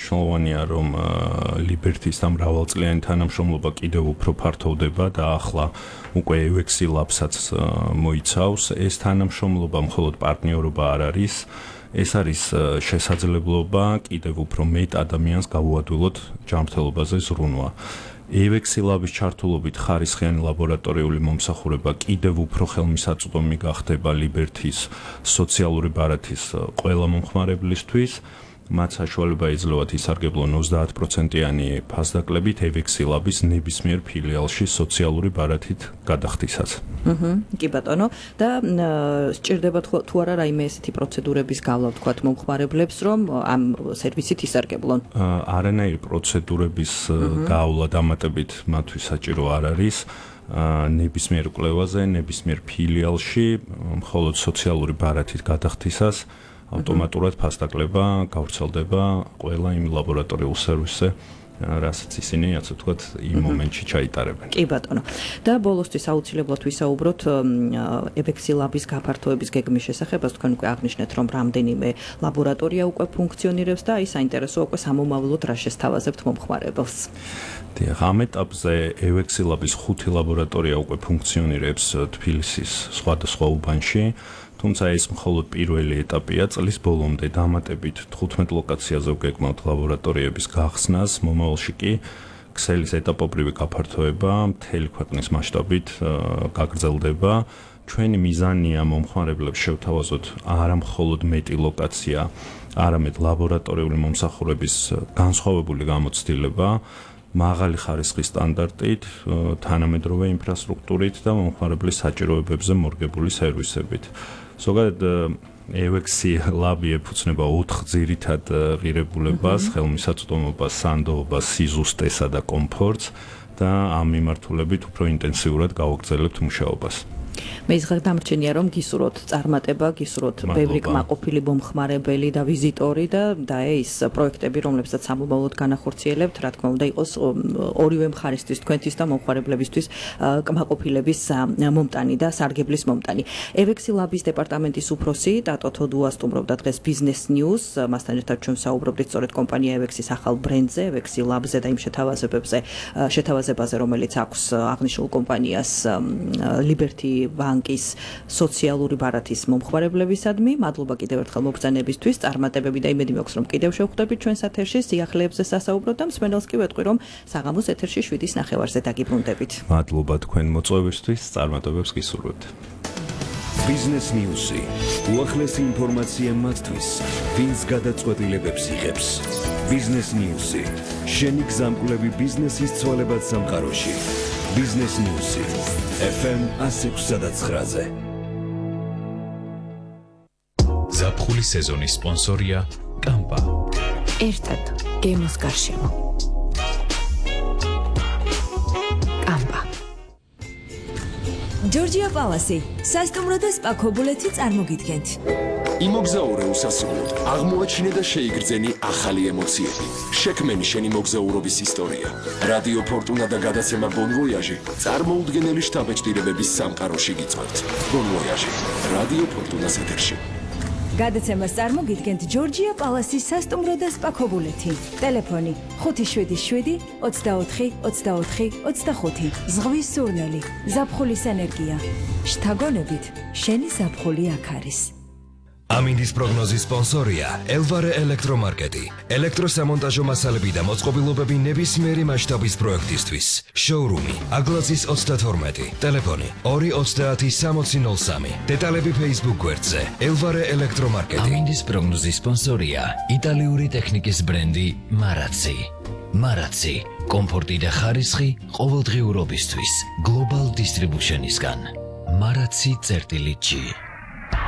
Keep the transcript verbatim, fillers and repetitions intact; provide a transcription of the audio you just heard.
მნიშვნელოვანია, რომ Liberty-ის და მრავალწლიანი თანამშრომლობა კიდევ უფრო ფართოვდება და ახლა უკვე ю ექს Labs-აც მოიცავს. ეს თანამშრომლობა მხოლოდ პარტნიორობა არ არის. ეს არის შესაძლებლობა კიდევ უფრო მეტ ადამიანს გავუადვილოთ ჯანმრთელობაზე ზრუნვა. ю ექს Labs-ის ჩართულობით ხარისხიანი ლაბორატორიული მომსახურება კიდევ უფრო ხელმისაწვდომი გახდება Liberty-ის სოციალური ბარათის ყველა მომხმარებლისთვის. მათ საშუალება იძლევათ ისარგებლონ ოცდაათ პროცენტიანი ფასდაკლებით ю ექს Labs-ის ნებისმიერ ფილიალში სოციალური ბარათით გადახდისას. აჰა, კი ბატონო, და სჭირდება თუ არა რაიმე ესეთი პროცედურების გავლა ვთქვათ მომხმარებლებს, რომ ამ სერვისით ისარგებლონ? არანაირი პროცედურების გავლა დამატებით მათთვის საჭირო არ არის. ნებისმიერ კვლევაზე, ნებისმიერ ფილიალში, მხოლოდ სოციალური ბარათით გადახდისას ავტომატურად ფასდაკლება გავრცელდება ყველა იმ ლაბორატორიულ სერვისზე, რასაც ისინი, ასე ვთქვათ, იმ მომენტში ჩაიტარებენ. კი ბატონო. და ბოლოსთვის აუცილებლად ვისაუბროთ ю ექს Labs-ის გაფართოების გეგმის შესახებ, თქვენ უკვე აღნიშნეთ, რომ რამდენიმე ლაბორატორია უკვე ფუნქციონირებს და აი საინტერესოა უკვე სამომავლოდ რა შესთავაზებთ მომხმარებელს. დიახ, ამ ეტაპზე ю ექს Labs-ის ხუთი ლაბორატორია უკვე ფუნქციონირებს თბილისის სხვადასხვა უბანში. თუმცა ეს მხოლოდ პირველი ეტაპია, წლის ბოლომდე დამატებით თხუთმეტ ლოკაციაზე ვგეგმავთ ლაბორატორიების გახსნას, მომავალში კი ქსელის ეტაპობრივი გაფართოება მთელი ქვეყნის მასშტაბით გაგრძელდება. ჩვენი მიზანია მომხმარებლებს შევთავაზოთ არა მხოლოდ მეტი ლოკაცია, არამედ ლაბორატორიული მომსახურების განსხვავებული გამოცდილება, მაღალი ხარისხის სტანდარტით, თანამედროვე ინფრასტრუქტურით და მომხმარებლის საჭიროებებზე მორგებული სერვისებით. ზოგადად ю ექს Labs ეფუძნება ოთხ ძირითად ღირებულებას, ხელმისაწვდომობას, სანდოობას, სიზუსტესა და კომფორტს და ამ მიმართულებით უფრო ინტენსიურად გავაგრძელებთ მუშაობას. მე იზღარ დამრჩენია, რომ გისურვოთ წარმატება, გისურვოთ ბევრი კმაყოფილი მომხმარებელი და ვიზიტორი და და ეს პროექტები, რომლებსაც სამომავლოდ განახორციელებთ, რა თქმა უნდა, იყოს ორივე მხარისთვის, თქვენთვის და მომხმარებლებისთვის კმაყოფილების მომტანი და სარგებლის მომტანი. ю ექს Labs-ის დეპარტამენტის უფროსი ტატო თოდუა სტუმრობდა დღეს Business News, მასთან ერთად ჩვენ საუბრობდით სწორედ კომპანია ю ექს-ის ახალ ბრენდზე, ю ექს Labs-ზე და იმ შეთავაზებებზე, შეთავაზებაზე, რომელიც აქვს აღნიშნულ კომპანიას Liberty ბანკის სოციალური ბარათის მომხმარებლებისადმი. მადლობა კიდევ ერთხელ მობრძანებისთვის, წარმატებები და იმედი მაქვს, რომ კიდევ შევხვდებით ჩვენს ეთერში სიახლეებზე სასაუბროთ და მსმენელს კი ვეტყვი, რომ საღამოს ეთერში შვიდის ნახევარზე დაგიბრუნდებით. მადლობა თქვენ მოწვევისთვის, წარმატებებს გისურვებთ. Business News-ი. უახლესი ინფორმაცია მათთვის, ვინც გადაწყვეტილებებს იღებს. Business News-ი. შენი გზამკვლევი ბიზნესის ცვალებად სამყაროში. Business News-ი. ეფ ემ one oh six point nine-ზე. ზაფხულის სეზონის სპონსორია კამპა. ერთად გემოს გარშემო. კამპა. ჯორჯია პალასი, სასტუმრო და სპა ქობულეთი წარმოგიდგენთ. იმოგზაურე უსასრულოდ, აღმოაჩინე და შეიგრძენი ახალი ემოციები. შექმენი შენი მოგზაურობის ისტორია. რადიო ფორტუნა და გადაცემა Bon Voyage წარმოუდგენელი შთაბეჭდილებების სამყაროში გიწევთ. Bon Voyage, რადიო ფორტუნას ეთერში. გადაცემას წარმოგიდგენთ ჯორჯია პალასის სასტუმრო და სპა ქობულეთი. ტელეფონი ხუთი შვიდი შვიდი ოცდაოთხი ოცდაოთხი ოცდახუთი. ზღვის სურნელი, ზაფხულის ენერგია. შთაგონებით, შენი ზაფხული აქ არის. ამინდის პროგნოზის სპონსორია ელვარე ელექტრომარკეტი. ელექტროსამონტაჟო მასალები და მოწყობილობები ნებისმიერი მასშტაბის პროექტისთვის. შოურუმი აგლაზის ოცდათორმეტი. ტელეფონი ორი ოცდაათი სამოცი ნოლ სამი. დეტალები Facebook გვერდზე ელვარე ელექტრომარკეტი. ამინდის პროგნოზის სპონსორია იტალიური ტექნიკის ბრენდი მარაცი. მარაცი, კომფორტი და ხარისხი ყოველდღიურობისთვის. Global Distribution-ისგან. მარაცი წერტილი ჯი.